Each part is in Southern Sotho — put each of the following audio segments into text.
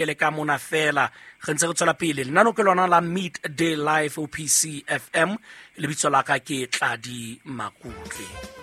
Le ka mona fela re ntse re tswela pele lenano ke lona la Meet Day Life OPC FM. Lebitso la ka ke Tladi Makutle.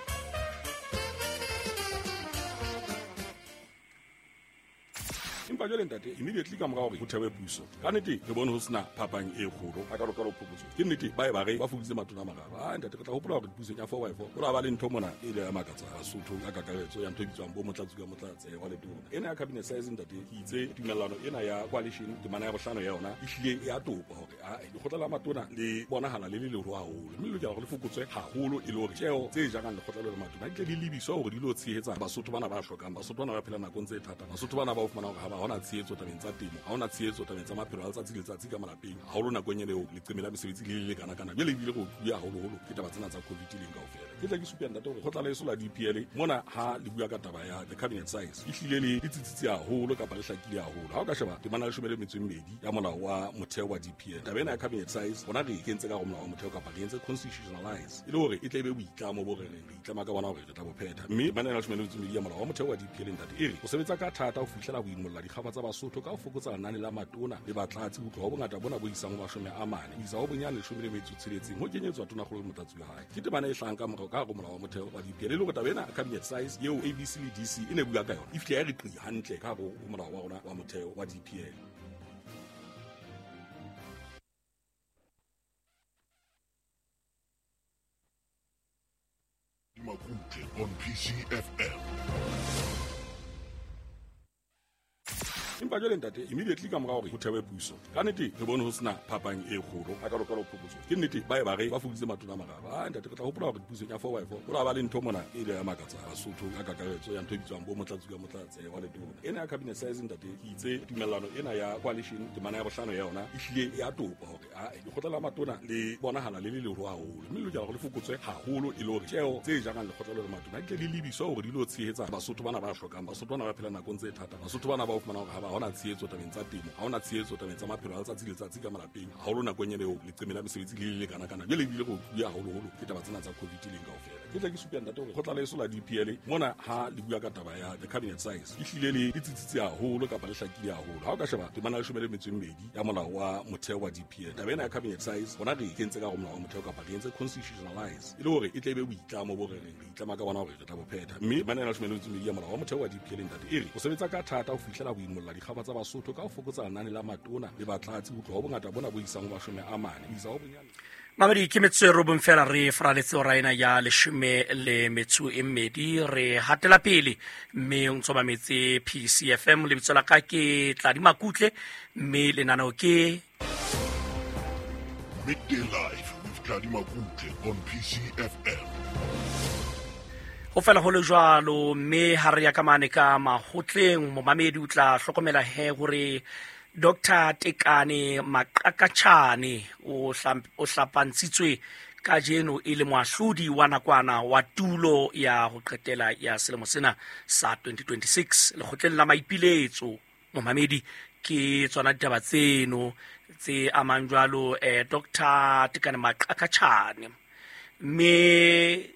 Empa jwale, ntate, immediately ka mora hore ho thewe puso, ka nnete re bone ho sena phapang e kgolo a kalokalo phokotso. Ke nnete ba e ba re ba fokoditse matona a mararo. A ntate, re tla hopola hore pusong ya 4 by 4 ho la ba le ntho mona e ile ya makatsa Basotho ka kakaretso ya ntho e bitswang bo motlatsi ka motlatse wa letona ena ya cabinet size. Ntate, ke itse tumellano ena ya coalition, temana ya bohlano ya yona e hlile e a topa hore a lekgotla la matona le bonahala le le leholo haholo, mme le lokela hore le fokotswe haholo e le hore tjeo tse jarang lekgotla le matona di tle di lebiswe hore di lo tshehetsa Basotho bana ba hlokang, Basotho bana ba phelang nakong tse thata, Basotho bana ba o fumana hore ha ba hona tshehetso tabeng tsa temo, ha hona tshehetso tabeng tsa maphelo a letsatsi le letsatsi ka malapeng, haholo nakong ena eo leqeme la mesebetsi le le lekana-kana. Jwale ebile re otluwe haholoholo ke taba tsena tsa COVID leng kaofela. Ke tla ke supe, ntate, hore kgotla leso la DPL mona ha le bua ka taba ya the cabinet size e hlile le tsitsitse haholo kapa le hlakile haholo. Ha o ka sheba temana 12 ya molao wa motheo wa DPL, taba ena ya cabinet size rona re e kentse ka go molao wa motheo kapa re entse constitutionalize e le hore e tle e be boitlamo bo re reng re itlama ka bona hore re tla bo phetha. Mme temana 12 ya molao wa motheo wa DPL, ntate, e re o sebetsa ka thata ho fihlela ho imolla dikgafa tsa Basotho ka ho fokotsa lenane la matona le batlatsi ho tloha ho bongata bona bo isang ho 40 ho isa ho bonyane 16 ho kenyetswa tonakgolo le motlatsi wa hae. Ke temana e hlahang ka morao ka hare ho molao wa motheo wa DPL, e le hore taba ena cabinet size eo ABC le DC e ne bua ka yona e fihle ya re qi hantle ka hare ho molao wa rona wa motheo wa DPL. Makutle on PCFM. Empa jwale, ntate, immediately ka mora hore ho thewe puso, ka nnete re bone ho sena phapang e kgolo a kalokalo phokotso. Ke nnete ba e ba re ba fokoditse matona a mararo. A ntate, re tla hopola hore pusong ya 4 by 4 ho la ba le ntho mona e ile ya makatsa Basotho ka kakaretso ya ntho e bitswang bo motlatsi ka motlatse wa letona ena ya cabinet size. Ntate, ke itse tumellano ena ya coalition, temana ya bohlano ya yona e hlile e a topa hore a lekgotla la matona le bonahala le le leholo haholo, mme le lokela hore le fokotswe haholo e le hore tjeo tse jarang lekgotla le matona di tle di lebiswe hore di lo tshehetsa Basotho bana ba hlokang, Basotho bana ba phelang nakong tse thata, Basotho bana ba o fumana hore ha ba hona tshehetso tabeng tsa temo, ha hona tshehetso tabeng tsa maphelo a letsatsi le letsatsi ka malapeng, haholo nakong ena eo leqeme la mesebetsi le le lekana-kana. Jwale ebile re otluwe haholoholo ke taba tsena tsa COVID leng kaofela. Ke tla ke supe, ntate, hore kgotla leso la DPL mona ha le bua ka taba ya the cabinet size e hlile le tsitsitse haholo kapa le hlakile haholo. Ha o ka sheba temana 12 ya molao wa motheo wa DPL, taba ena ya cabinet size rona re e kentse ka go molao wa motheo kapa re entse constitutionalize e le hore e tle e be boitlamo bo re reng re itlama ka bona hore re tla bo phetha. Mme temana 12 ya molao wa motheo wa DPL, ntate, e re o sebetsa ka thata ho fihlela ho imolla dikgafa tsa Basotho ka ho fokotsa lenane la matona le batlatsi ho tloha ho bongata bona bo isang ho 40 ho isa ho bonyane Mamedi, ke metsotso e robong fela re faraletse ora ena ya 12. Re hatela pele mme o ntso mametse PCFM. Lebitso la ka ke Tladi Makutle mme lenaneo ke Midday Live with Tladi Makutle on PCFM. Ho fela ho le jwalo, mme ha re ya ka mane ka mahotleng, momamedi o tla hlokomela he hore Dr Tekane Maqakachane o hlapantshitswe kajeno e le moahlodi wa nakwana wa tulo ya ho qetela ya selemo sena sa 2026 lekgotleng la maipiletso. Momamedi, ke tsona ditaba tseno tse amang jwalo Dr Tekane Maqakachane, mme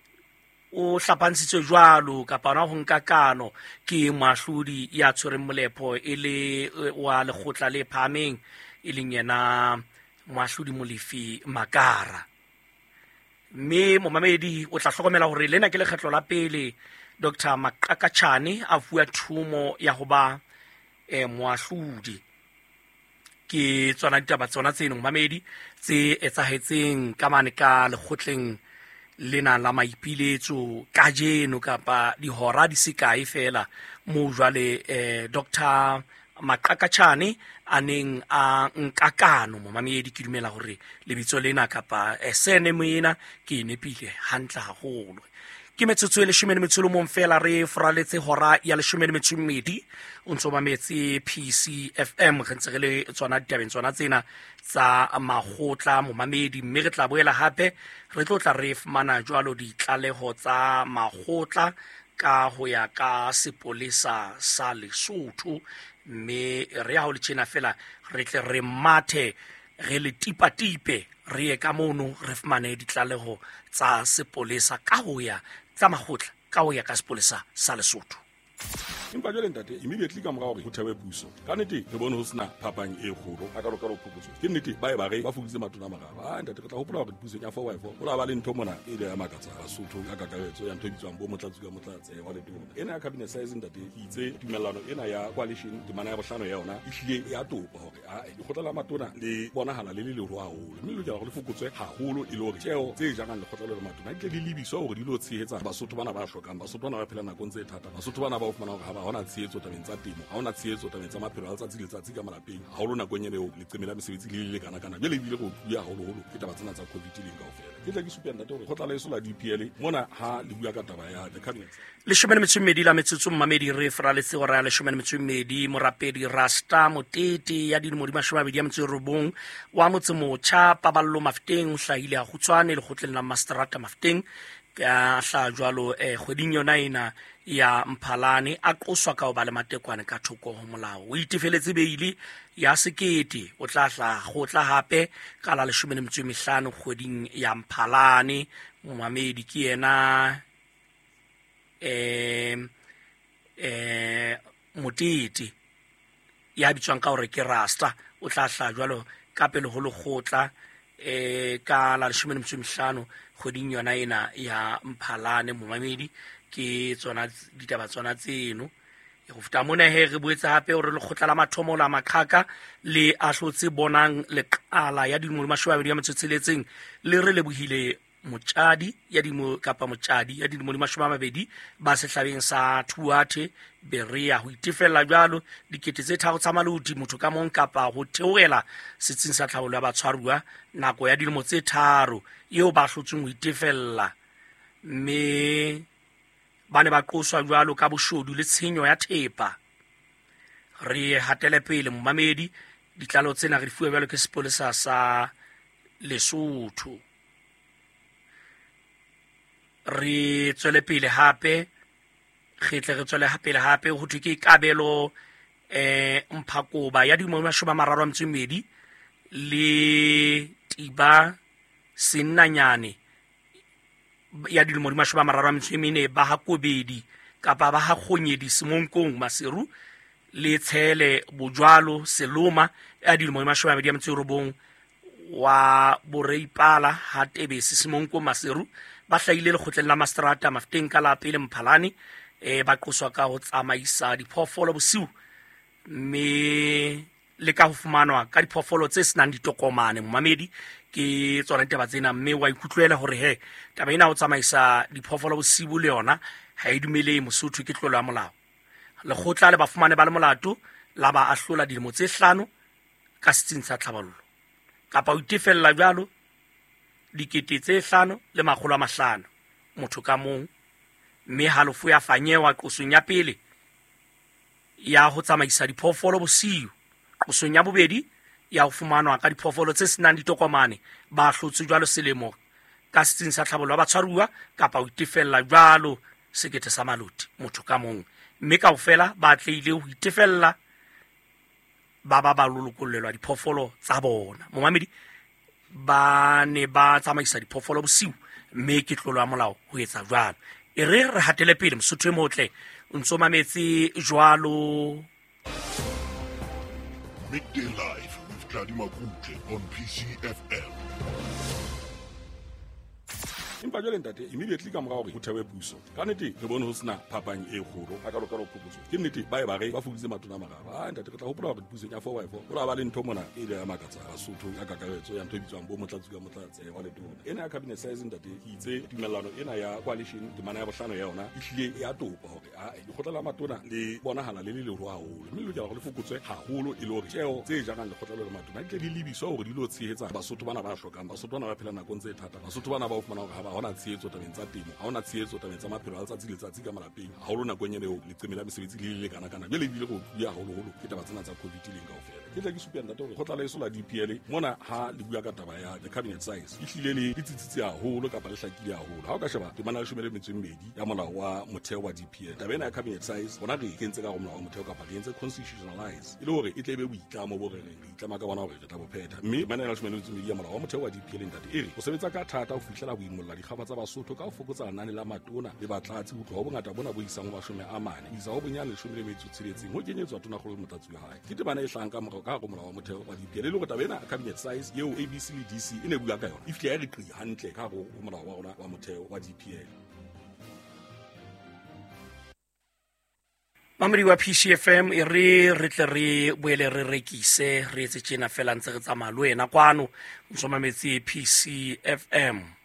o hlapantshitswe jwalo kapa hona ho nka kano ke moahlodi ya tshwereng molepho e le wa lekgotla le phahameng, e leng yena moahlodi Molefi Makara. Mme momamedi o tla hlokomela hore lena ke lekgetlo la pele Dr Maqakachane a fuwa thumo ya ho ba moahlodi. Ke tsona ditaba tsona tseno, momamedi, tse etsahetseng ka mane ka lekgotleng lena la maipiletso kajeno kapa dihora di se kae fela moo jwale Dr Maqakachane a neng a nka kano. Momamedi, ke dumela hore lebitso lena kapa surname ena ke e nepile hantle haholo. Ke metsotso e 11 fela re foraletse hora ya 12. O ntso mametse PCFM. Re ntse re le tsona ditabeng tsona tsena tsa makgotla, momamedi, mme re tla boela hape re tlo tla re fumana jwalo ditlaleho tsa makgotla ka ho ya ka sepolesa sa Lesotho. Mme re ya ho le tjena fela re tle re mathe re le tipatipe re ye ka mono re fumane ditlaleho tsa sepolesa ka ho ya tsa makgotla ka ho ya ka sepolesa sa Lesotho. Empa jwale ntate, immediately ka mora hore ho thewe puso, ka nnete re bone ho sena phapang e kgolo a kalokalo phokotso. Ke nnete ba e ba re ba fokoditse matona a mararo. Ah ntate, re tla hopola hore pusong ya 4x4 ho la ba le ntho mona e ile ya makatsa Basotho ka kakaretso ya ntho e bitswang bo motlatsi ka motlatse wa letona. Ena ya cabinet size ntate, ke itse tumellano ena ya coalition temana ya bohlano ya yona e hlile ya topa hore a lekgotla la matona le bonahala le le leholo haholo, mme le lokela hore le fokotswe haholo e le hore tjeo tse jarang lekgotla le matona di tle di lebiswe hore di lo tshehetsa Basotho bana ba hlokang, Basotho bana ba phelang nakong tse thata, Basotho bana ba o fumana hore ha ba hona tshehetso tabeng tsa temo, ha hona tshehetso tabeng tsa maphelo a letsatsi le letsatsi ka malapeng, haholo nakong ena eo leqeme la mesebetsi le le lekana-kana. Jwale ebile re otluwe haholoholo ke taba tsena tsa COVID leng kaofela. Ke tle ke supe ntate hore kgotla la eso la DPL mona ha le bua ka taba ya the cabinet. 12 la metsotso mmamedi re fraletse hora ya 12. Morapedi Rasta Motete ya dilemo di 29 wa Motsemotjha Paballo Mafteng o hlahile a kgutshwane lekgotleng la Mastrata Mafteng ka hla jwalo kgweding yona ena ya Mphalane, a qoswa ka ho ba le matekwane ka thoko ho molao. O itefeletse beili ya 1000, o tla hla kgotla hape ka la 15 kgweding ya Mphalane. Momamedi ke yena Motete ya bitswang ka hore ke Rasta, o tla hla jwalo ka pele ho lekgotla ka la 15 kgweding yona ena ya Mphalane. Momamedi ke tsona ditaba tsona tseno. Go feta mona he re boetse hape hore lekgotla la mathomo la Maqhaka le ahlotse Bonang Leqala ya dilemo di 26 le re lebohile Motjadi ya dilemo kapa Motjadi ya dilemo di 20 ba sehlabeng sa Thuathe Berea ho itefella jwalo 3,000 tsa maloti motho ka mong kapa ho theohela setsing sa tlhabollo ya batshwaruwa nako ya dilemo tse 3 eo ba hlotsweng ho itefella, mme ba ne ba qoswa jwalo ka boshodu le tshenyo ya thepa. Re hatele pele momamedi, ditlalo tsena re di fuwe jwalo ke sepolesa sa Lesotho. Re tswele pele hape, re tle re tswele pele hape ho thwe ke Kabelo Mphakoba ya dilemo di 32 le Tiba Sennanyane ya dilemo di 34 ba ha Kobedi kapa ba ha Kgonyedi Semonkong Maseru le Tshele Bojwalo Seloma ya dilemo di 29 wa Boreipala ha Tebese Semonkong Maseru ba hlahile lekgotleng la Mastrata Mafteng ka la pele Mphalane, ba qoswa ka ho tsamaisa diphoofolo bosiu mme le ka ho fumanwa ka diphoofolo tse senang ditokomane. Momamedi ke tsona ditaba tsena, mme wa ikutlwela hore he taba ena ho tsamaisa diphoofolo bosiu le yona ha e dumele Mosotho, ke tlolo ya molao. Lekgotla le ba fumane ba le molato la ba ahlola dilemo tse 5 ka setsing sa tlhabollo kapa ho itefella jwalo 5,500 motho ka mong, mme halofo ya fanyewa qosong ya pele ya ho tsamaisa diphoofolo bosiu, qosong ya bobedi ya ho fumanwa ka diphoofolo tse senang ditokomane ba hlotswe jwalo selemo ka setsing sa tlhabollo ya batshwaruwa kapa ho itefella jwalo 1,000 sa maloti motho ka mong, mme kaofela ba atlehile ho itefella ba ba ba lolokollelwa diphoofolo tsa bona. Momamedi ba ne ba tsamaisa diphoofolo bosiu mme ke tlolo ya molao ho etsa jwalo. E re re hatele pele Mosotho e motle, o ntso mametse jwalo. Midday Live with Tladi Makutle on PCFM. Empa jwale ntate, immediately ka mora hore ho thewe puso, ka nnete re bone ho sena phapang e kgolo a kalokalo phokotso. Ke nnete ba e ba re ba fokoditse matona a mararo. Ah ntate, re tla hopola hore pusong ya 4x4 ho la ba le ntho mona e ile ya makatsa Basotho ka kakaretso ya ntho e bitswang bo motlatsi ka motlatse wa letona. Ena ya cabinet size ntate, ke itse tumellano ena ya coalition temana ya bohlano ya yona e hlile ya topa hore a lekgotla la matona le bonahala le le leholo haholo, mme le lokela hore le fokotswe haholo e le hore tjeo tse jarang lekgotla le matona di tle di lebiswe hore di lo tshehetsa Basotho bana ba hlokang, Basotho bana ba phelang nakong tse thata, Basotho bana ba o fumana hore ha ba hona tshehetso tabeng tsa temo, ha hona tshehetso tabeng tsa maphelo a letsatsi le letsatsi ka malapeng, haholo nakong ena eo leqeme la mesebetsi le le lekana-kana. Jwale ebile re otluwe haholoholo ke taba tsena tsa COVID leng kaofela. Ke tle ke supe ntate hore kgotla la eso la DPL mona ha le bua ka taba ya the cabinet size e hlile le tsitsitse haholo kapa le hlakile haholo. Ha o ka sheba temana ya 12 ya molao wa motheo wa DPL, taba ena ya cabinet size rona re e kentse ka hare ho molao wa motheo kapa re entse constitutionalize e le hore e tle e be boitlamo bo re reng re itlama ka bona hore re tla bo phetha. Mme temana ya 12 ya molao wa motheo wa DPL ntate e re o sebetsa ka thata ho fihlela ho imolla dikgaba tsa Basotho ka ho fokotsa lenane la matona le batlatsi ho tloha ho bongata bona bo isang ho 40 ho isa ho bonyane 16 ho kenyetswa tonakgolo le motlatsi wa hae. Ke temana e hlahang ka morao ka hare ho molao wa motheo wa DPL, e le hore taba ena cabinet size eo ABC le DC e ne bua ka yona e fihla ya re qi hantle ka hare ho molao wa rona wa motheo wa DPL. Mamedi wa PCFM, e re re tle re boele re rekise, re etse tjena fela ntse re tsamaya le wena kwano o ntso mametse PCFM.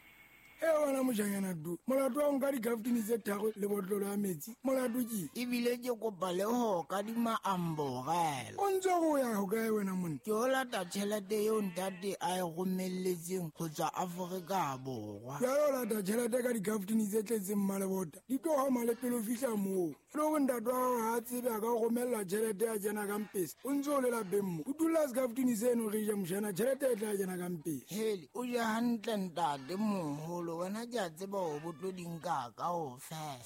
E wena mojanyana du, molato wa nka dikaftini tse 3 le botlolo ya metsi, molato ke ebile ke kopa le ho kadima amborela. O ntse go ya ho kae wena monna? Ke o lata tjhelete eo ntate a e romelletseng ho tswa Afrika Borwa. Jwale o lata tjhelete ka dikaftini tse tletseng mmalebota, di tlo hama le pele o fihla moo. Le hore ntate wa hao ha a tsebe a ka o romella tjhelete ya kena ka mpesa, o ntse o le lapeng mo. O dula sekaftini seno re ja mojana, tjhelete e tla kena ka mpesa. Hele, o ja hantle ntate moholo, wena ke a tseba hore bo tlo di nka kaofela.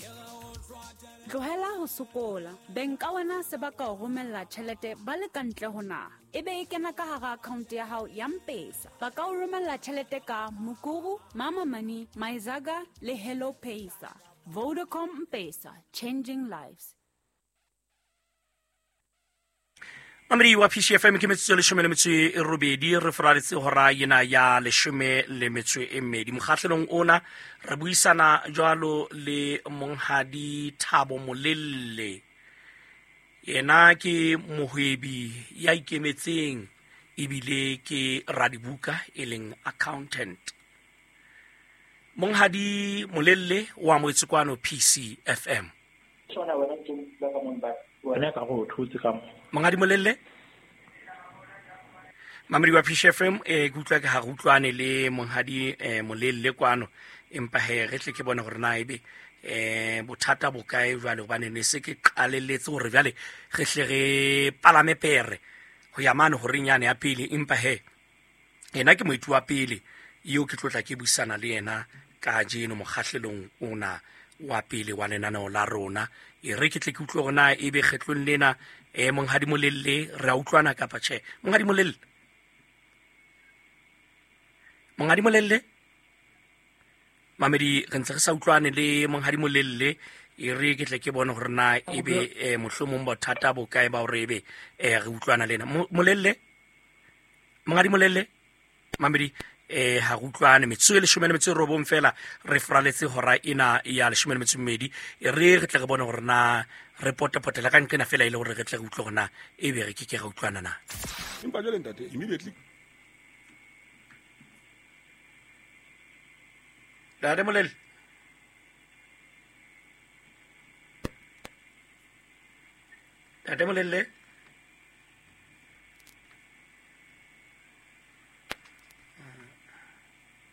Tlohela ho sokola. Beng ka wena se ba ka o romella tjhelete ba le ka ntle ho naha, e be e kena ka hara account ya hao ya M-Pesa. Ba ka o romella tjhelete ka Mukuru, Mama Money, Myzaga le Hello Pesa. Vodacom M-Pesa, changing lives. Mamedi wa PCFM, ke metsotso e 18 re foraletse hora ena ya 12. Mokgahlelong ona re buisana jwalo le monghadi Thabo Molelle. Yena ke mohwebi ya ikemetseng ebile ke radibuka e leng accountant. Monghadi Molelle wa amohetse kwano PCFM. Wena ka go thutse ka mo. Monghadi Molelle, mamedi wa PCFM, ke utlwa ke ha re utlwane le monghadi Molelle kwano, empa he re tle ke bone hore na ebe bothata bo kae jwale, hobane ne se ke qalelletse hore jwale re hle re palame pere ho ya mane horeng yane ya pele, empa he yena ke moeti wa pele eo ke tlotla ke buisana le yena kajeno mokgahlelong ona wa pele wa lenaneo la rona. E re ke tle ke utlwe hore na ebe kgetlong lena monghadi Molelle re a utlwana kapa tjhe. Monghadi Molelle, monghadi Molelle, mamedi re ntse re sa utlwane le monghadi Molelle. E re ke tle ke bone hore na ebe mohlomong bothata bo kae ba hore ebe re utlwana le yena. Molelle, monghadi Molelle, mamedi ha re utlwane. Metsotso e 19 fela re foraletse hora ena ya 12. E re re tle re bone hore na re potapotela ka nqena fela e le hore re tle re utlwe hore na ebe re ke ke ra utlwana na. Empa jwale ntate, immediately Ntate Molelle, ntate Molelle,